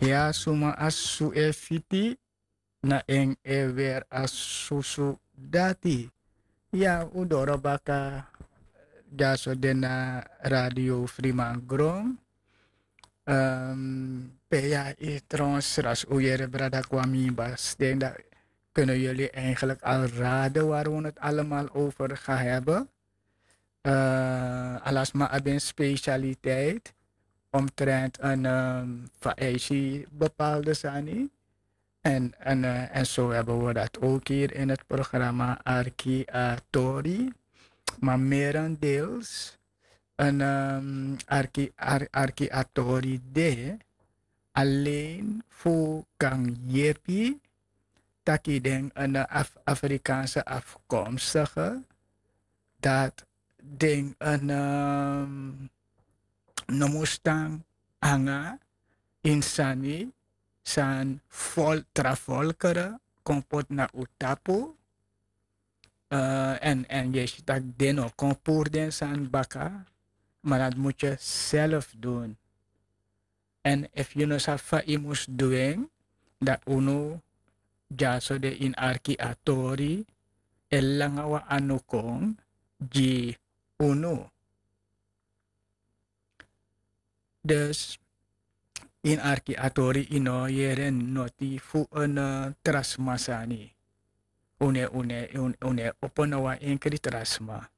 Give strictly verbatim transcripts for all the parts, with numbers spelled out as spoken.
Ya suma a susu e fiti, na en e weri a susu dati. Ya un doro baka, dyaso de na Radio Friman Gron. Pe ya e trouwens, ras un yere brada Kwami, basten, dan kunnen jullie eigenlijk al raden waar we het allemaal over gaan hebben. Ala sma abi en specialiteit omtrent en faisi bepaalde sani. En zo hebben we dat ook hier in het programma Arki Atori. Maar merendeels en Arki Atori de alleen fu kan yepi taki den en Afrikaanse afkomstige, dat den en no mus tan anga ini sani san tra volkere kon poti na un tapu. En yu e si tak' den no kon puru den sani baka, ma dati mus yu self dun. En efu yu no sabi fa yu mus du en, dan unu dyaso de ini Arki Atori e langa wan anu kon gi unu. Dus ini Arki Atori yu no yere noti fu en tra sma sani. Un no e opo na wan enkri tra sma.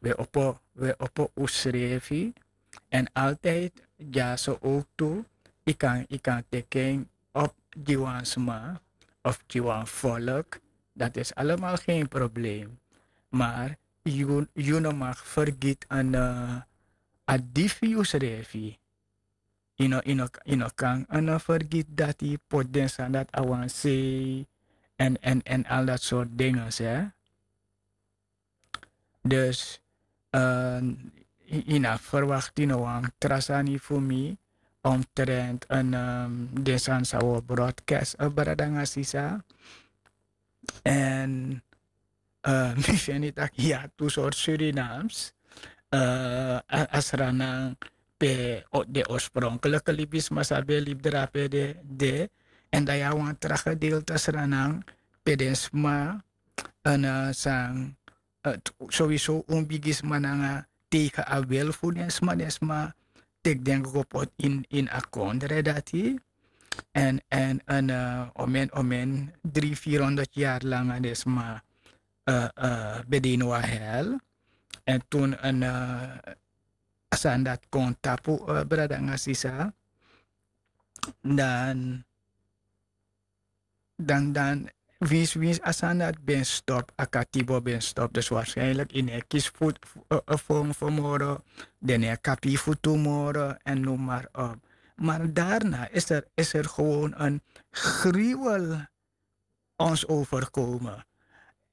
We opo, we opo unsrefi. En altijd dyaso ook tu, yu kan, yu kan teki en op gi wan sma of gi wan volk. Dat is allemaal geen probleem. Maar yu no mag vergiet en a di fu yusrefi. Yu no, yu no kan en vergiet dati, poti den sani dati a wan sei en, en, en al dat soort dingen, hè. Dus yu no abi verwakti no wan tra sani fu mi omtrent en den sani san wi o broadcast, brada nanga sisa. En mi feni tak' yu abi tu sortu Surinaams. A Sranan pe den orspronkelijke libisma san ben libi drape de, de. En dan yu abi wan tra gedeelte Sranan pe den sma en san sowieso un bigisma nanga tegen a wil fu den sma, den sma teki den go poti ini a kondre dati. En en en omen omen dri firi honderd yari langa den sma ben de ini wan hel. En tun en a sani dati kon tapu, brada nanga sisa. Dan dan dan winsi winsi a sani dati ben stop, a katibo ben stop. Dus waarschijnlijk yu no e kisi fu fu moro, den no e kapi yu fu tu moro en noem maar op. Maar daarna is er is er gewoon een gruwel ons overkomen.